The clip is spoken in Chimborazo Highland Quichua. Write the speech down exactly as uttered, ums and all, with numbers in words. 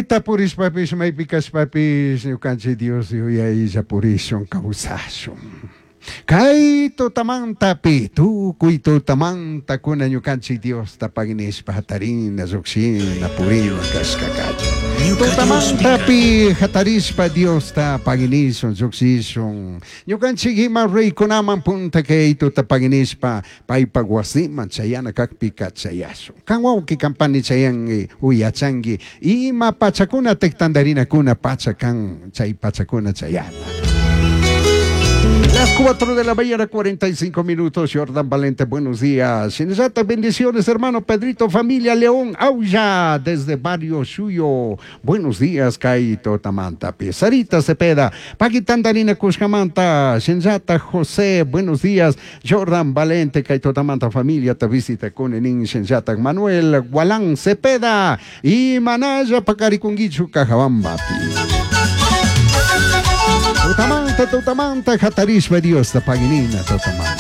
Mayta purishpapish maypi kashpapish ñukanchik Dios yuyaylla purishun kawsashun. Kay tutamantapi tukuy tutamantakuna ñukanchik Diosta paginishpa hatarina llukshina purina kashka kachun. Ñuka Diosmi Tutamantapi hatarishpa Diosta paginishun llukshishun. Ñukanchik ima reykunaman punta kay tuta paginishpa paypak wasiman chayana kakpika chayashun. Kan wawqi kampani chayanki uyachanki ima pachakuna tantarinakuna pacha kan chay pachakuna chayana. Las cuatro de la mañana, cuarenta y cinco minutos. Jordan Valente, buenos días. Shinallata, bendiciones, hermano Pedrito, familia León, Aulla, desde Barrio Suyo. Buenos días, Kaito Tamanta. Sarita Cepeda, Paquitandarina Cuscamanta, Shinallata José, buenos días. Jordan Valente, Kaito Tamanta, familia, te visita con Enin, Shinallata Manuel Gualán Cepeda y Manaya Pacarikunguichu, Cajabambapi. Tutamanta, tutamanta, hatarishpa Diosta paginina, tutamanta.